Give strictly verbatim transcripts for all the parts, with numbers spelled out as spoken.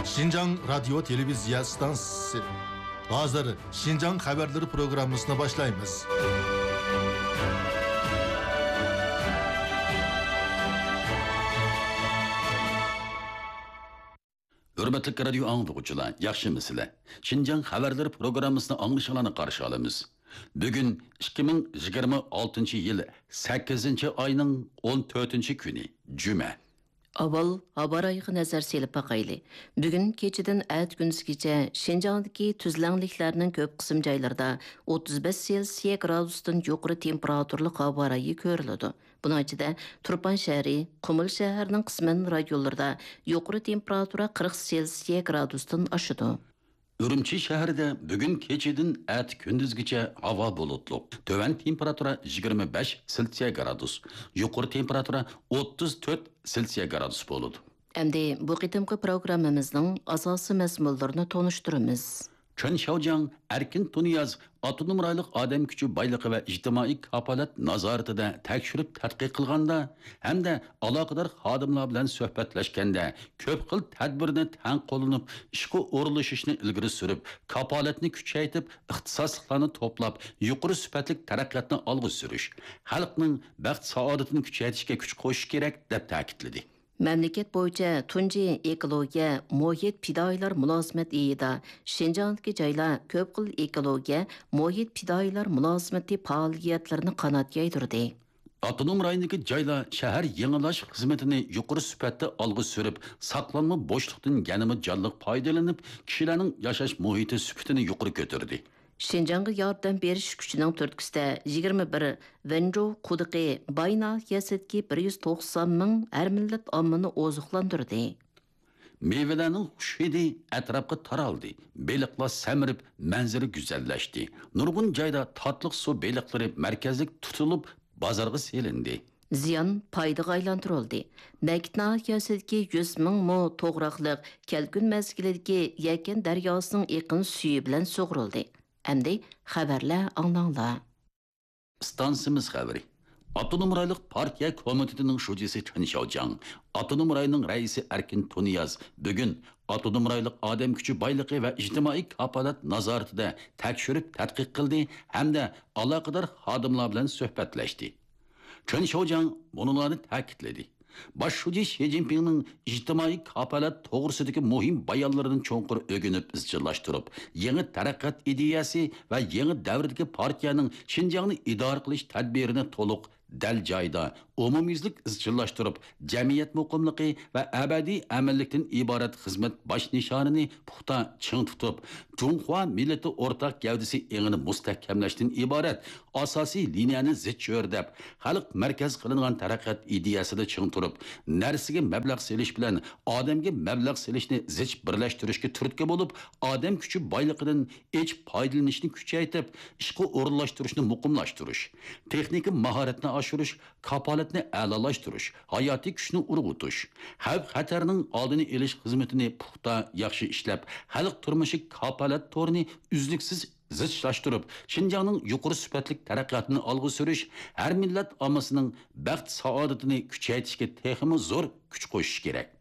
شىنجاڭ رادىيو تېلېۋىزىيە ئىستانسىسى. ھازىر شىنجاڭ خەۋەرلىرى پروگراممىسىنى باشلايمىز. ھۆرمەتلىك رادىيو ئاڭلىغۇچىلار، ياخشىمۇسىلەر؟ شىنجاڭ خەۋەرلىرى پروگراممىسىنى ئاڭلىشىڭلارنى قارشى ئالىمىز. بۈگۈن ئىككى مىڭ يىگىرمە ئالتىنچى يىل سەككىزىنچى ئاينىڭ ئون تۆتىنچى كۈنى، جۈمە. ئاۋۋال ھاۋا رايىغا نەزەر سېلىپ باقايلى. بۈگۈن كېچىدىن ئەتە كۈندۈزگىچە شىنجاڭدىكى تۈزلەڭلىكلەرنىڭ كۆپ قىسىم جايلىرىدا ئوتتۇز بەش سېلسىيە گرادۇستىن يۇقىرى تېمپېراتۇرىلىق ھاۋا رايى كۆرۈلىدۇ. بۇنىڭ ئىچىدە تۇرپان شەھىرى، قۇمۇل شەھەرنىڭ قىسمەن رايونلىرىدا يۇقىرى تېمپېراتۇرا قىرىق سېلسىيە گرادۇستىن ئاشىدۇ. ئۈرۈمچى شەھىرىدە بۈگۈن كېچىدىن ئەتە كۈندۈزگىچە ھاۋا بۇلۇتلۇق. تۆۋەن تېمپېراتۇرا يىگىرمە بەش سېلسىيە گرادۇس، يۇقىرى تېمپېراتۇرا ئوتتۇز تۆت سېلسىيە گرادۇس بولىدۇ. ئەمدى بۇ قېتىمقى پروگراممىمىزنىڭ ئاساسىي مەزمۇنلىرىنى تونۇشتۇرىمىز. چېن شياۋجياڭ ئەركىن تۇنىياز ئاپتونوم رايونلۇق ئادەم كۈچى بايلىقى ۋە ئىجتىمائىي كاپالەت نازارىتىدە تەكشۈرۈپ تەتقىق قىلغاندا ھەمدە ئالاقىدار خادىملار بىلەن سۆھبەتلەشكەندە، كۆپ خىل تەدبىرنى تەڭ قوللىنىپ، ئىشقا ئورۇنلىشىشنى ئىلگىرى سۈرۈپ، كاپالەتنى كۈچەيتىپ، ئىختىساسلىقلارنى توپلاپ، يۇقىرى سۈپەتلىك تەرەققىياتنى ئالغا سۈرۈش، خەلقنىڭ بەخت-سائادىتىنى كۈچەيتىشكە كۈچ قوشۇش كېرەك، دەپ تەكىتلىدى. مەملىكەت بويىچە تۇنجى ئېكولوگىيە، مۇھىت پىدائىيلار مۇلازىمەت ئېيىدا شىنجاڭدىكى جايلار كۆپ خىل ئېكولوگىيە، مۇھىت پىدائىيلار مۇلازىمىتى پائالىيەتلىرىنى قانات يايدۇردى. ئاپتونوم رايوندىكى جايلار شەھەر يېڭىلاش خىزمىتىنى يۇقىرى سۈپەتتە ئالغا سۈرۈپ، ساقلانما بوشلۇقتىن يەنىمۇ جانلىق پايدىلىنىپ، كىشىلەرنىڭ ياشاش مۇھىتى سۈپىتىنى يۇقىرى كۆتۈردى. شىنجاڭغا ياردەم بېرىش كۈچىنىڭ تۈرتكىسىدە يىگىرمە بىر ۋېنجۇ قۇدۇقى باي ناھىيەسىدىكى بىر يۈز توقسان مىڭ ھەر مىللەت ئاممىنى ئوزۇقلاندۇردى. مېۋىلەرنىڭ خۇش ھىدى ئەتراپقا تارالدى. بېلىقلار سەمرىپ، مەنزىرە گۈزەللەشتى. نۇرغۇن جايدا تاتلىق سۇ بېلىقلىرى مەركەزلىك تۇتۇلۇپ، بازارغا سېلىندى. زىيان پايدىغا ئايلاندۇرۇلدى. نەگىت ناھىيەسىدىكى يۈز مىڭ مو توغراقلىق كەلكۈن مەزگىلىدىكى يەكەن دەرياسىنىڭ ئېقىن سۈيى بىلەن سۇغۇرۇلدى. ئەمدى خەۋەرلەر ئاڭلاڭلار. ئىستانسىمىز خەۋىرى. ئاپتونوم رايونلۇق پارتىيە كومىتېتىنىڭ شۇجىسى چېن شياۋجياڭ، ئاپتونوم رايوننىڭ رەئىسى ئەركىن تۇنىياز بۈگۈن ئاپتونوم رايونلۇق ئادەم كۈچى بايلىقى ۋە ئىجتىمائىي كاپالەت نازارىتىدە تەكشۈرۈپ تەتقىق قىلدى ھەمدە ئالاقىدار خادىملار بىلەن سۆھبەتلەشتى. چېن شياۋجياڭ مۇنۇلارنى تەكىتلىدى. باش شۇجى شى جىنپىڭنىڭ ئىجتىمائىي كاپالەت توغرىسىدىكى مۇھىم بايانلىرىنى چوڭقۇر ئۆگىنىپ ئىزچىللاشتۇرۇپ، يېڭى تەرەققىيات ئىدىيەسى ۋە يېڭى دەۋردىكى پارتىيەنىڭ شىنجاڭنى ئىدارە قىلىش تەدبىرىنى تولۇق، دەل جايىدا، ئومۇميۈزلۈك ئىزچىللاشتۇرۇپ، جەمئىيەت مۇقىملىقى ۋە ئەبەدىي ئەمىنلىكتىن ئىبارەت خىزمەت باش نىشانىنى پۇختا چىڭ تۇتۇپ، جۇڭخۇا مىللىتى ئورتاق گەۋدىسى ئېڭىنى مۇستەھكەملەشتىن ئىبارەت ئاساسىي لىنىيەنى زىچ ئۆرلەپ، خەلق مەركەزگە قىلىنغان تەرەققىيات ئىدىيەسىدە چىڭ تۇرۇپ، نەرسىگە مەبلەغ سېلىش بىلەن ئادەمگە مەبلەغ سېلىشنى زىچ بىرلەشتۈرۈشكە تۈرتكە بولۇپ، ئادەم كۈچى بايلىقىدىن ئېچىپ پايدىلىنىشنى كۈچەيتىپ، ئىشقا ئورۇنلاشتۇرۇشنى مۇقىملاشتۇرۇش، تېخنىكا ماھارەتنى ئاشۇرۇش، كاپالەتنى ئەلالاشتۇرۇش، ھاياتىي كۈچنى ئۇرغۇتۇش، خەۋپ-خەتەرنىڭ ئالدىنى ئېلىش خىزمىتىنى پۇختا، ياخشى ئىشلەپ، خەلق تۇرمۇشى كاپالەت تورىنى ئۈزلۈكسىز زىچلاشتۇرۇپ، شىنجاڭنىڭ يۇقىرى سۈپەتلىك تەرەققىياتىنى ئالغا سۈرۈش، ھەر مىللەت ئاممىسىنىڭ بەخت-سائادىتىنى كۈچەيتىشكە تېخىمۇ زور كۈچ قوشۇش كېرەك.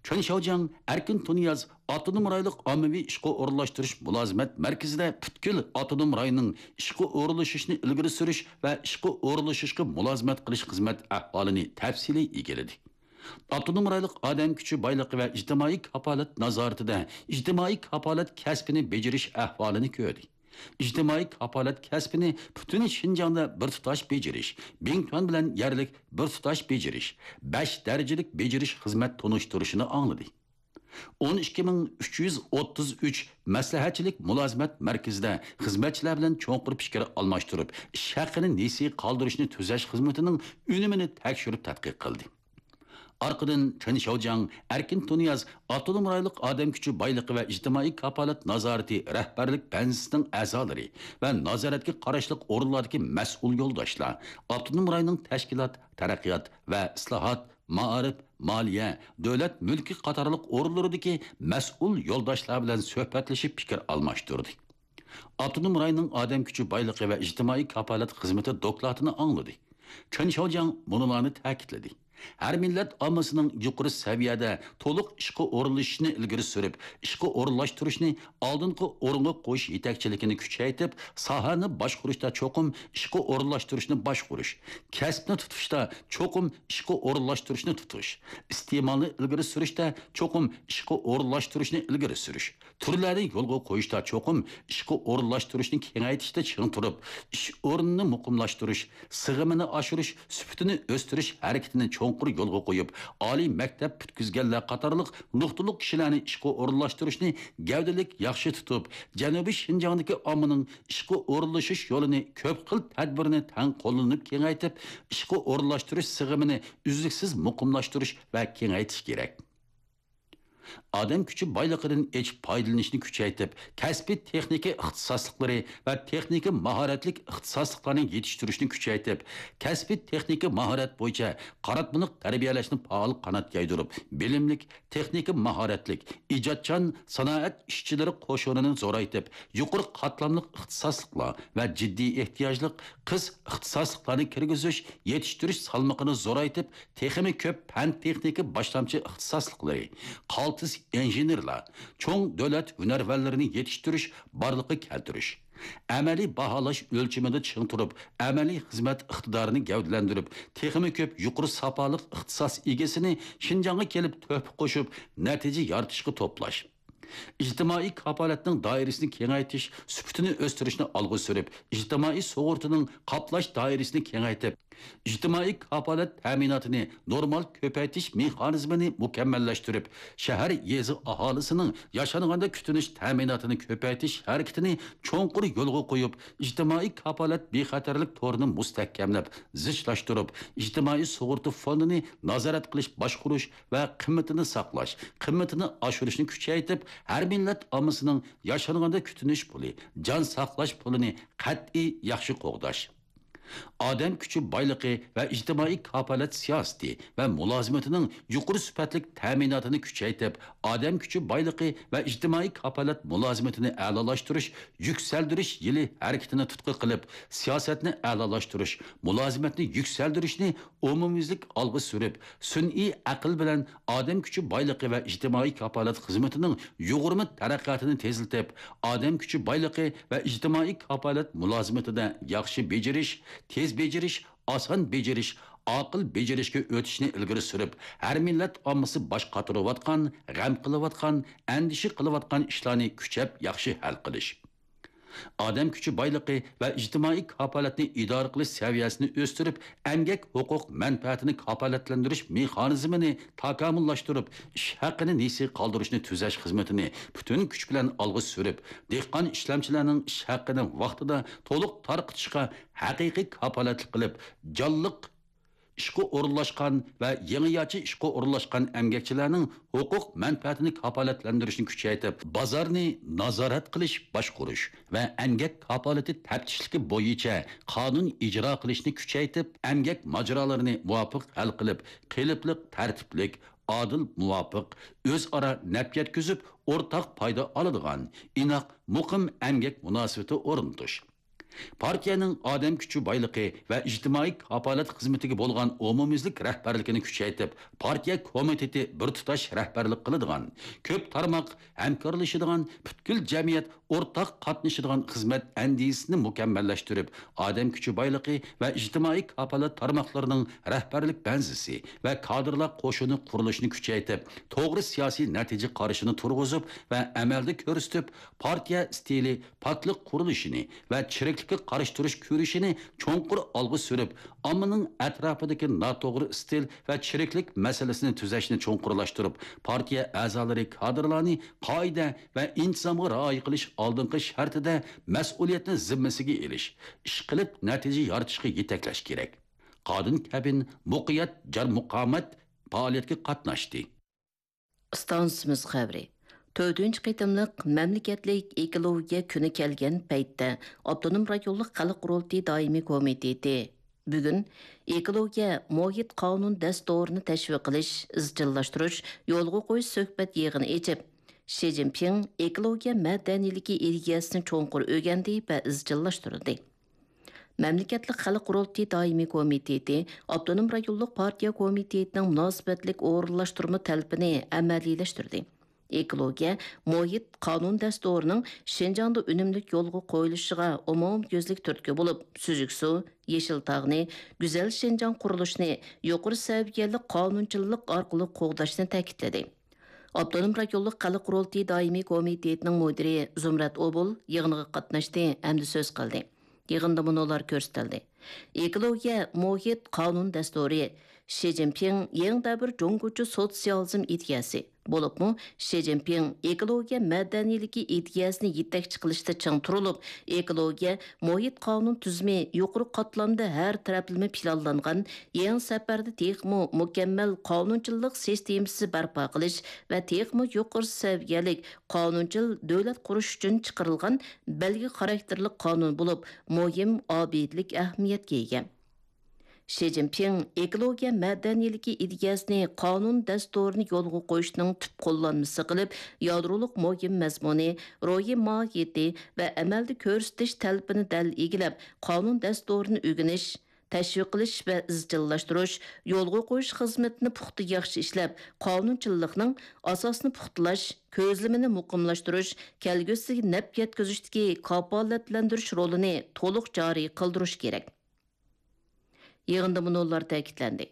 چېن شياۋجياڭ ئەركىن تۇنىياز ئاپتونوم رايونلۇق ئاممىۋى ئىشقا ئورۇنلاشتۇرۇش مۇلازىمەت مەركىزىدە پۈتكۈل ئاپتونوم رايوننىڭ ئىشقا ئورۇنلىشىشنى ئىلگىرى سۈرۈش ۋە ئىشقا ئورۇنلىشىشقا مۇلازىمەت قىلىش خىزمەت ئەھۋالىنى تەپسىلىي ئىگىلىدى. ئاپتونوم رايونلۇق ئادەم كۈچى بايلىقى ۋە ئىجتىمائىي كاپالەت نازارىتىدە ئىجتىمائىي كاپالەت كەسپىنى بېجىرىش ئەھۋالىنى كۆردى. ئىجتىمائىي كاپالەت كەسپىنى پۈتۈن شىنجاڭدا بىر تۇتاش بېجىرىش، بىڭتۈەن بىلەن يەرلىك بىر تۇتاش بېجىرىش، بەش دەرىجىلىك بېجىرىش خىزمەت تونۇشتۇرۇشىنى ئاڭلىدى. ئون ئىككى مىڭ ئۈچ يۈز ئوتتۇز ئۈچ مەسلىھەتچىلىك مۇلازىمەت مەركىزىدە خىزمەتچىلەر بىلەن چوڭقۇر پىكىر ئالماشتۇرۇپ، ئىش ھەققىنى نېسى قالدۇرۇشنى تۈزەش خىزمىتىنىڭ ئۈنۈمىنى تەكشۈرۈپ تەتقىق قىلدى. ئارقىدىن چېن شياۋجياڭ ئەركىن تۇنىياز ئاپتونوم رايونلۇق ئادەم كۈچى بايلىقى ۋە ئىجتىمائىي كاپالەت نازارىتى رەھبەرلىك بەنزىسىنىڭ ئەزالىرى ۋە نازارەتكە قاراشلىق ئورۇنلاردىكى مەسئۇل يولداشلار، ئاپتونوم رايوننىڭ تەشكىلات، تەرەققىيات ۋە ئىسلاھات، مائارىپ، مالىيە، دۆلەت مۈلكى قاتارلىق ئورۇنلىرىدىكى مەسئۇل يولداشلار بىلەن سۆھبەتلىشىپ پىكىر ئالماشتۇردى. ئاپتونوم رايوننىڭ ئادەم كۈچى بايلىقى ۋە ئىجتىمائىي كاپالەت خىزمىتى دوكلاتىنى ئاڭلىدى. چېن شياۋجياڭ مۇنۇلارنى تەكىتلىدى. ھەر مىللەت ئاممىسىنىڭ يۇقىرى سەۋىيەدە تولۇق ئىشقا ئورۇنلىشىشىنى ئىلگىرى سۈرۈپ، ئىشقا ئورۇنلاشتۇرۇشنى ئالدىنقى ئورۇنغا قويۇش يېتەكچىلىكىنى كۈچەيتىپ، ساھەنى باشقۇرۇشتا چوقۇم ئىشقا ئورۇنلاشتۇرۇشنى باشقۇرۇش، كەسىپنى تۇتۇشتا چوقۇم ئىشقا ئورۇنلاشتۇرۇشنى تۇتۇش، ئىستېمالنى ئىلگىرى سۈرۈشتە چوقۇم ئىشقا ئورۇنلاشتۇرۇشنى ئىلگىرى سۈرۈش، تۈرلەرنى يولغا قويۇشتا چوقۇم ئىشقا ئورۇنلاشتۇرۇشنى كېڭەيتىشتە چىڭ تۇرۇپ، ئىش ئورنىنى مۇقىملاشتۇرۇش، سىغىمىنى ئاشۇرۇش، سۈپىتىنى ئۆستۈرۈش ھەرىكىتىنى چوڭقۇر يولغا قويۇپ، ئالىي مەكتەپ پۈتكۈزگەنلەر قاتارلىق نۇقتىلىق كىشىلەرنى ئىشقا ئورۇنلاشتۇرۇشنى گەۋدىلىك ياخشى تۇتۇپ، جەنۇبىي شىنجاڭدىكى ئاممىنىڭ ئىشقا ئورۇنلىشىش يولىنى كۆپ خىل تەدبىرنى تەڭ قوللىنىپ كېڭەيتىپ، ئىشقا ئورۇنلاشتۇرۇش سىغىمىنى ئۈزلۈكسىز مۇقىملاشتۇرۇش ۋە كېڭەيتىش كېرەك. ئادەم كۈچى بايلىقىدىن ئېچىپ پايدىلىنىشنى كۈچەيتىپ، كەسپىي تېخنىكا ئىختىساسلىقلىرى ۋە تېخنىكا ماھارەتلىك ئىختىساسلىقلارنى يېتىشتۈرۈشنى كۈچەيتىپ، كەسپىي تېخنىكا ماھارەت بويىچە قاراتمىلىق تەربىيەلەشنى پائال قانات يايدۇرۇپ، بىلىملىك، تېخنىكا ماھارەتلىك، ئىجادچان سانائەت ئىشچىلىرى قوشۇنىنى زورايتىپ، يۇقىرى قاتلاملىق ئىختىساسلىقلار ۋە جىددىي ئېھتىياجلىق قىس ئىختىساسلىقلارنى كىرگۈزۈش، يېتىشتۈرۈش سالمىقىنى زورايتىپ، تېخىمۇ كۆپ پەن-تېخنىكا باشلامچى ئىختىساسلىقلىرى، قالتىس ئىنژېنېرلار، چوڭ دۆلەت ھۈنەرۋەنلىرىنى يېتىشتۈرۈش، بارلىققا كەلتۈرۈش. ئەمەلىي باھالاش ئۆلچىمىدە چىڭ تۇرۇپ، ئەمەلىي خىزمەت ئىقتىدارىنى گەۋدىلەندۈرۈپ، تېخىمۇ كۆپ يۇقىرى ساپالىق ئىختىساس ئىگىسىنى شىنجاڭغا كېلىپ تۆھپە قوشۇپ، نەتىجە يارىتىشقا توپلاش. ئىجتىمائىي كاپالەتنىڭ دائىرىسىنى كېڭەيتىش، سۈپىتىنى ئۆستۈرۈشنى ئالغا سۈرۈپ، ئىجتىمائىي سۇغۇرتىنىڭ قاپلاش دائىرىسىنى كېڭەيتىپ، ئىجتىمائىي كاپالەت تەمىناتىنى نورمال كۆپەيتىش مېخانىزمىنى مۇكەممەللەشتۈرۈپ، شەھەر، يېزا ئاھالىسىنىڭ ياشانغاندا كۈتۈنۈش تەمىناتىنى كۆپەيتىش ھەرىكىتىنى چوڭقۇر يولغا قويۇپ، ئىجتىمائىي كاپالەت بىخەتەرلىك تورىنى مۇستەھكەملەپ، زىچلاشتۇرۇپ، ئىجتىمائىي سۇغۇرتا فوندىنى نازارەت قىلىش، باشقۇرۇش ۋە قىممىتىنى ساقلاش، قىممىتىنى ئاشۇرۇشنى كۈچەيتىپ، ھەر مىللەت ئاممىسىنىڭ ياشانغاندا كۈتۈنۈش پۇلى، جان ساقلاش پۇلىنى قەتئىي ياخشى قوغداش. ئادەم كۈچى بايلىقى ۋە ئىجتىمائىي كاپالەت سىياسىتى ۋە مۇلازىمىتىنىڭ يۇقىرى سۈپەتلىك تەمىناتىنى كۈچەيتىپ، ئادەم كۈچى بايلىقى ۋە ئىجتىمائىي كاپالەت مۇلازىمىتىنى ئەلالاشتۇرۇش، يۈكسەلدۈرۈش يىلى ھەرىكىتىنى تۇتقا قىلىپ، سىياسەتنى ئەلالاشتۇرۇش، مۇلازىمەتنى يۈكسەلدۈرۈشنى ئومۇميۈزلۈك ئالغا سۈرۈپ، سۈنئىي ئەقىل بىلەن ئادەم كۈچى بايلىقى ۋە ئىجتىمائىي كاپالەت خىزمىتىنىڭ يۇغۇرما تەرەققىياتىنى تېزلىتىپ، ئادەم كۈچى بايلىقى ۋە ئىجتىمائىي كاپالەت مۇلازىمىتىدە ياخشى بېجىرىش، تېز بېجىرىش، ئاسان بېجىرىش، ئاقىل بېجىرىشكە ئۆتۈشنى ئىلگىرى سۈرۈپ، ھەر مىللەت ئاممىسى باش قاتۇرۇۋاتقان، غەم قىلىۋاتقان، ئەندىشە قىلىۋاتقان ئىشلارنى كۈچەپ ياخشى ھەل قىلىش. ئادەم كۈچى بايلىقى ۋە ئىجتىمائىي كاپالەتنى ئىدارە قىلىش سەۋىيەسىنى ئۆستۈرۈپ، ئەمگەك ھوقۇق مەنپەئەتىنى كاپالەتلەندۈرۈش مېخانىزمىنى تاكامۇللاشتۇرۇپ، ئىش ھەققىنى نېسى قالدۇرۇشنى تۈزەش خىزمىتىنى پۈتۈن كۈچ بىلەن ئالغا سۈرۈپ، دېھقان ئىشلەمچىلەرنىڭ ئىش ھەققىنى ۋاقتىدا تولۇق تارقىتىشقا ھەقىقىي كاپالەتلىك قىلىپ، جانلىق ئىشقا ئورۇنلاشقان ۋە يېڭىچە ئىشقا ئورۇنلاشقان ئەمگەكچىلەرنىڭ ھوقۇق مەنپەئەتىنى كاپالەتلەندۈرۈشنى كۈچەيتىپ، بازارنى نازارەت قىلىش، باشقۇرۇش ۋە ئەمگەك كاپالىتى تەپتىشلىكى بويىچە قانۇن ئىجرا قىلىشنى كۈچەيتىپ، ئەمگەك ماجىرالىرىنى مۇۋاپىق ھەل قىلىپ، قېلىپلىق، تەرتىپلىك، ئادىل، مۇۋاپىق، ئۆزئارا نەپ يەتكۈزۈپ، ئورتاق پايدا ئالىدىغان، ئىناق، مۇقىم ئەمگەك مۇناسىۋىتى ئورنىتىش. پارتىيەنىڭ ئادەم كۈچى بايلىقى ۋە ئىجتىمائىي كاپالەت خىزمىتىگە بولغان ئومۇميۈزلۈك رەھبەرلىكىنى كۈچەيتىپ، پارتىيە كومىتېتى بىر تۇتاش رەھبەرلىك قىلىدىغان، كۆپ تارماق ھەمكارلىشىدىغان، پۈتكۈل جەمئىيەت ئورتاق قاتنىشىدىغان خىزمەت ئەندىزىسىنى مۇكەممەللەشتۈرۈپ، ئادەم كۈچى بايلىقى ۋە ئىجتىمائىي كاپالەت تارماقلىرىنىڭ رەھبەرلىك بەنزىسى ۋە كادىرلار قوشۇنى قۇرۇلۇشىنى كۈچەيتىپ، توغرا سىياسىي نەتىجە قارىشىنى تۇرغۇزۇپ ۋە ئەمەلدە كۆرسىتىپ، پارتىيە ئىستىلى، پاكلىق قۇرۇلۇشىنى ۋە چىرىكلىككە قارشى تۇرۇش كۈرىشىنى چوڭقۇر ئالغا سۈرۈپ، ئاممىنىڭ ئەتراپىدىكى ناتوغرا ئىستىل ۋە چىرىكلىك مەسىلىسىنى تۈزەشنى چوڭقۇرلاشتۇرۇپ، پارتىيە ئەزالىرى، كادىرلارنى قائىدە ۋە ئىنتىزامغا رىئايە قىلىش ئالدىنقى شەرتىدە مەسئۇلىيەتنى زىممىسىگە ئېلىش، ئىشقىلىپ نەتىجە يارىتىشقا يېتەكلەش كېرەك. قادىن كەبىن، مۇقىيەت، جار مۇقاۋمەت پائالىيەتكە قاتناشتى. ئىستانسىمىز خەۋىرى. تۆتىنچى قېتىملىق مەملىكەتلىك ئېكولوگىيە كۈنى كەلگەن پەيتتە، ئاپتونوم رايونلۇق خەلق قۇرۇلتىيى دائىمىي كومىتېتى بۈگۈن ئېكولوگىيە مۇھىت قانۇن دەستۇرىنى تەشۋىق قىلىش، ئىزچىللاشتۇرۇش، يولغا قويۇش سۆھبەت يىغىنى ئېچىپ، شى جىنپىڭ ئېكولوگىيە مەدەنىيلىكى ئىدىيەسىنى چوڭقۇر ئۆگەندى ۋە ئىزچىللاشتۇردى. مەملىكەتلىك خەلق قۇرۇلتىيى دائىمىي كومىتېتى ئاپتونوم رايونلۇق پارتىيە كومىتېتىنىڭ مۇناسىۋەتلىك ئورۇنلاشتۇرما تەلىپىنى ئەمەلىيلەشتۈردى. ئېكولوگىيە، مۇھىت، قانۇن دەستۇرىنىڭ شىنجاڭدا ئۈنۈملۈك يولغا قويۇلۇشىغا ئومۇميۈزلۈك تۈرتكە بولۇپ، سۈزۈك سۇ، يېشىل تاغنى، گۈزەل شىنجاڭ قۇرۇلۇشىنى يۇقىرى سەۋىيەلىك قانۇنچىللىق ئارقىلىق قوغداشنى تەكىتلىدى. ئاپتونوم رايونلۇق خەلق قۇرۇلتىيى دائىمىي كومىتېتىنىڭ مۇدىرى زۇمرەت ئوبۇل يىغىنغا قاتناشتى ھەمدە سۆز قىلدى. يىغىندا مۇنۇلار كۆرسىتىلدى: ئېكولوگىيە، مۇھىت، قانۇن دەستۇرى، شى جىنپىڭ يېڭى دەۋر جۇڭگوچە سوتسىيالىزم ئىدىيەسى، بولۇپمۇ شى جىنپىڭ ئېكولوگىيە مەدەنىيلىكى ئىدىيەسىنى يېتەكچى قىلىشتا چىڭ تۇرۇلۇپ، ئېكولوگىيە، مۇھىت قانۇن تۈزۈمى يۇقىرى قاتلامدا ھەر تەرەپلىمە پىلانلانغان، يېڭى سەپەردە تېخىمۇ مۇكەممەل قانۇنچىللىق سىستېمىسى بەرپا قىلىش ۋە تېخىمۇ يۇقىرى سەۋىيەلىك قانۇنچىل دۆلەت قۇرۇش ئۈچۈن چىقىرىلغان بەلگە خاراكتېرلىك قانۇن بولۇپ، مۇھىم ئابىدىلىك ئەھمىيەتكە ئىگە. شى جىنپىڭ ئېكولوگىيە مەدەنىيلىكى ئىدىيەسىنى قانۇن دەستۇرىنى يولغا قويۇشنىڭ تۈپ قوللانمىسى قىلىپ، يادرولۇق مۇھىم مەزمۇنى، روھىي ماھىيىتى ۋە ئەمەلدە كۆرسىتىش تەلىپىنى دەل ئىگىلەپ، قانۇن دەستۇرىنى ئۆگىنىش، تەشۋىق قىلىش ۋە ئىزچىللاشتۇرۇش، يولغا قويۇش خىزمىتىنى پۇختا ياخشى ئىشلەپ، قانۇنچىللىقنىڭ ئاساسىنى پۇختىلاش، كۆزلىمىنى مۇقىملاشتۇرۇش، كەلگۈسىگە نەپ يەتكۈزۈشتىكى كاپالەتلەندۈرۈش رولىنى تولۇق جارى قىلدۇرۇش كېرەك. يىغىندا مۇنۇلار تەكىتلەندى: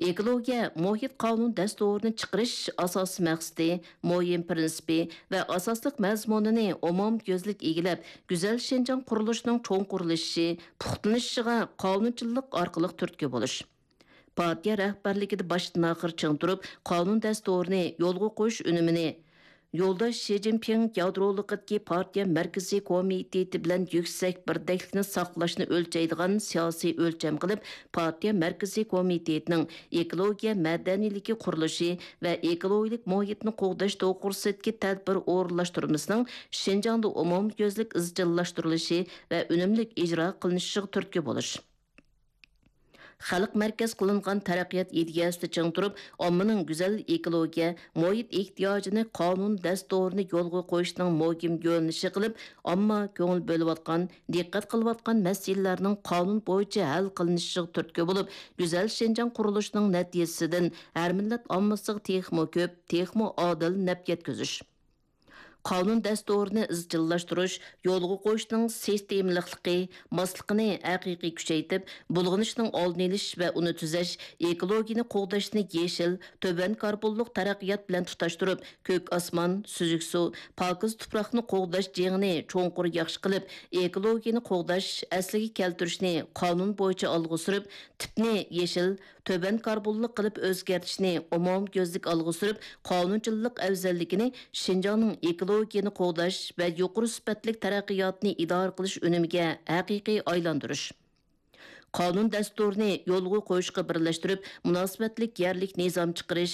ئېكولوگىيە مۇھىت قانۇن دەستۇرىنى چىقىرىش ئاساسىي مەقسىتى، مۇھىم پىرىنسىپى ۋە ئاساسلىق مەزمۇنىنى ئومۇميۈزلۈك ئىگىلەپ، گۈزەل شىنجاڭ قۇرۇلۇشىنىڭ چوڭقۇرلىشىشى، پۇختىلىنىشىغا قانۇنچىللىق ئارقىلىق تۈرتكە بولۇش. پارتىيە رەھبەرلىكىدە باشتىن-ئاخىر چىڭ تۇرۇپ، قانۇن دەستۇرىنى يولغا قويۇش ئۈنۈمىنى يولداش شى جىنپىڭ يادرولۇقىدىكى پارتىيە مەركىزىي كومىتېتى بىلەن يۈكسەك بىردەكلىكنى ساقلاشنى ئۆلچەيدىغان سىياسىي ئۆلچەم قىلىپ، پارتىيە مەركىزىي كومىتېتىنىڭ ئېكولوگىيە مەدەنىيلىكى قۇرۇلۇشى ۋە ئېكولوگىيىلىك مۇھىتنى قوغداش توغرىسىدىكى تەدبىر ئورۇنلاشتۇرمىسىنىڭ شىنجاڭدا ئومۇميۈزلۈك ئىزچىللاشتۇرۇلۇشى ۋە ئۈنۈملۈك ئىجرا قىلىنىشىغا تۈرتكە بولۇش. خەلق مەركەز قىلىنغان تەرەققىيات ئىدىيەسىدە چىڭ تۇرۇپ، ئاممىنىڭ گۈزەل ئېكولوگىيە، مۇھىت ئېھتىياجىنى قانۇن دەستۇرىنى يولغا قويۇشنىڭ مۇھىم يۆنىلىشى قىلىپ، ئامما كۆڭۈل بۆلۈۋاتقان، دىققەت قىلىۋاتقان مەسىلىلەرنىڭ قانۇن بويىچە ھەل قىلىنىشىغا تۈرتكە بولۇپ، گۈزەل شىنجاڭ قۇرۇلۇشىنىڭ نەتىجىسىدىن ھەر مىللەت ئاممىسىغا تېخىمۇ كۆپ، تېخىمۇ ئادىل نەپ يەتكۈزۈش. قانۇن دەستۇرىنى ئىزچىللاشتۇرۇش، يولغا قويۇشنىڭ سىستېمىلىقلىقى، ماسلىقىنى ھەقىقىي كۈچەيتىپ، بۇلغىنىشنىڭ ئالدىنى ئېلىش ۋە ئۇنى تۈزەش، ئېكولوگىيەنى قوغداشنى يېشىل، تۆۋەن كاربونلۇق تەرەققىيات بىلەن تۇتاشتۇرۇپ، كۆك ئاسمان، سۈزۈك سۇ، پاكىز تۇپراقنى قوغداش جېڭىنى چوڭقۇر ياخشى قىلىپ، ئېكولوگىيەنى قوغداش، ئەسلىگە كەلتۈرۈشنى قانۇن بويىچە ئالغا سۈرۈپ، تىپنى يېشىل، تۆۋەن كاربونلۇق قىلىپ ئۆزگەرتىشنى ئومۇميۈزلۈك ئالغا سۈرۈپ، قانۇنچىللىق ئەۋزەللىكىنى شىنجاڭنىڭ ئېكولوگىيەنى قوغداش ۋە يۇقىرى سۈپەتلىك تەرەققىياتنى ئىدارە قىلىش ئۈنۈمىگە ھەقىقىي ئايلاندۇرۇش. قانۇن دەستۇرىنى يولغا قويۇشقا بىرلەشتۈرۈپ، مۇناسىۋەتلىك يەرلىك نىزام چىقىرىش،